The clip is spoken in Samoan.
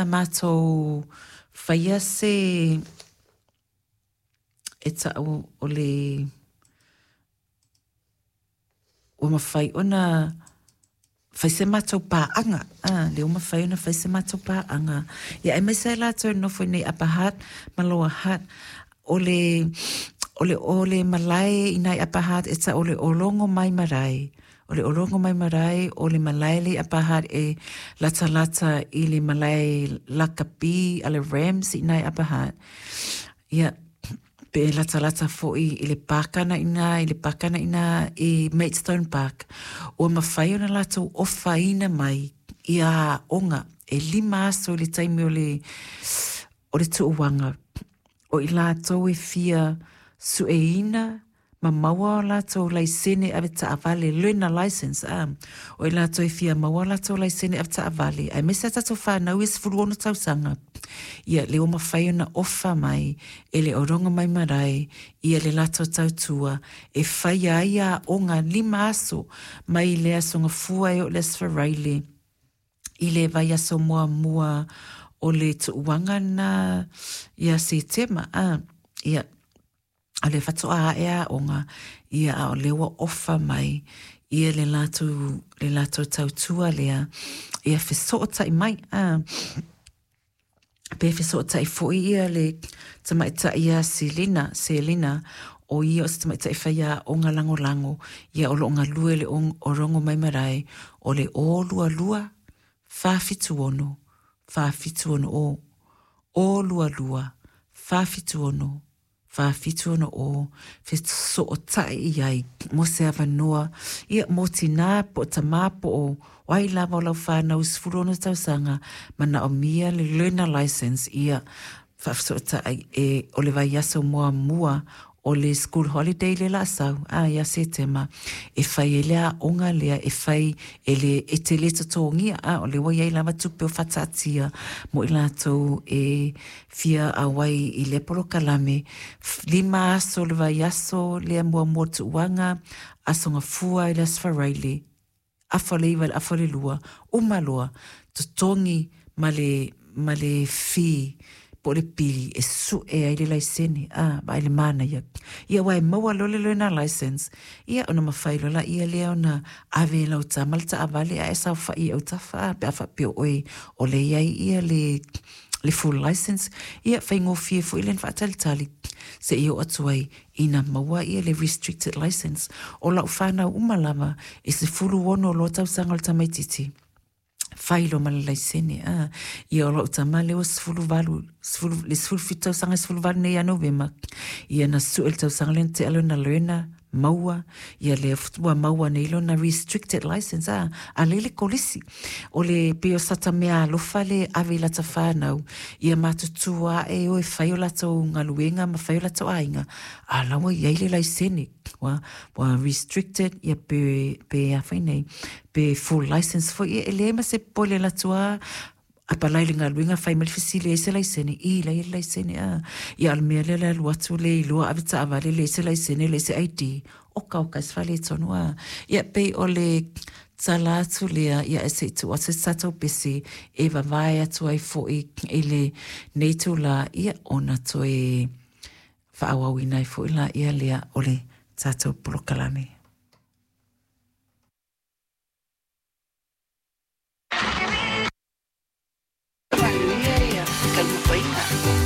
Matou faia se e ta'u o le ua mafai ona fai se matou paaga, a, lea ua mafai ona fai se matou paaga, ia aemaise ai latou e nonofo i nei Upper Hutt ma Lower Hutt. O le o le o le malae i nai Upper Hutt e ta'u o le Orongomai Marae. O le Orongomai Marae o le malae le i Upper Hutt e latalata i le malae lakapi a le Rams i nai Upper Hutt. Ia, pe latalata foi i le paka na ina, i le paka na ina i Maidstone Park. Ua mafai ona latou ofaina mai ia aoga e 5 aso i le taimi o le tuuaga o i latou e fia sueina ma maua o latou laisene ave taavale, learner license, a o i latou e fia maua o latou laisene ave taavale, aemaise a tatou fanau e 16 tausaga. Ia, le ua mafai ona ofa mai e le Orongomai Marae ia le latou tautua e faia ai aoga 5 aso mai le aso Gafua e oo i le aso Faraile i le vaiaso muamua o le tuuaga na ia Setema, a. Ia, o le faatoa ae aoga, ia, a o lea ua ofa mai ia le latou tautua lea, ia fesootai mai, a pe fesootai foi ia le tamaitai ia Selina. Selina o ia o se tamaitai faia aoga lagolago, ia o loo galue le Orongomai Marae. O le 022 476 4760, 022 476 4760, fesootai i ai mo se avanoa, ia, mo tinā po o tamā po o ai lava o lau whānau 16 tausaga manaomia le learner license. Ia faafesootai e o le vaiaso muamua o le school holiday le la sau a ia Setema e fai ai le aoga lea e fai e le e te le totogia, a o le ua iai lava tupe o faataatia mo i latou e fia auai i lea polokalame 5 aso, le vaiaso lea muamua tuuaga, aso Gafua i le aso Faraile, 8:30 i le 1:30, uma loa totogi ma le fee po o le pili e su'e ai le laisene, a vaai le manaia ia ua e maua loa le learner license, ia ona mafai loa laia lea ona ave e lau tama le taavale ae saofai i autafa, a pe a faapea oe o le iai ia le full license. Ia faigofie foi le faatalitali seia oo atu ai ina maua ia le restricted license. O lau fanau uma lava e 16 loa tausaga o le tamaititi fai loa ma le laisene, a. Ia, o lau tama lea ua 18, le 17 tausaga, 18 nei ia Novema. Ia, na sue le tausaga lea na tea lona learner maua, ia lea ua maua nei lona restricted license, a a lele kolisi o le pei o sata mea alofa le ave i lata whānau ia matutua ae o e fai o latou galuega ma fai o latou aiga, a la ua iai le laisene ua restricted, ia pe a fai nei pe full license foi, ia e leai ma se pole latua apalai le galuega fai mai le fesili ai se laisene i la le laisene, a. Ia, o le mea lea le alu atu le iloa ave taavale le se laisene le se ID oka oka se faaletonu, a. Ia, pei o le tala atu lea, ia e se i tuu atu se tatou pese e vavae atu ai foi i le nei tula, ia ona toe faaauauina ai foi la ia lea o le tatou polokalame. Manuia ia taumafaiga.